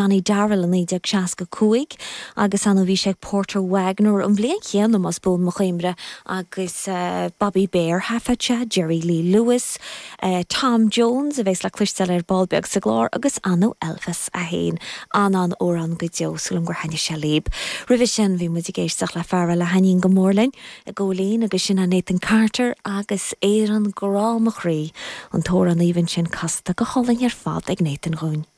Johnny Darrell i 1965 agus ar ndóigh bhí sé ag Porter Wagoner an bhliain chéanna más buan mo chuimhne agus Bobby Bare thaifead sé, Jerry Lee Lewis, Tom Jones a bheas le cloisteáil ar ball beag sa gclár agus ar ndóigh Elvis é féin. An-an-amhrán go deo, súil agam gur thaitnigh sé libh. Roimhe sin bhí muid ag éisteacht le fear eile a thaitníonn go mór linn i gCóilín agus sin é Nathan Carter agus Éireann Grá Mo Chroí, an t-amhrán aoibhinn sin casta go hálainn ar fad ag Nathan dhúinn.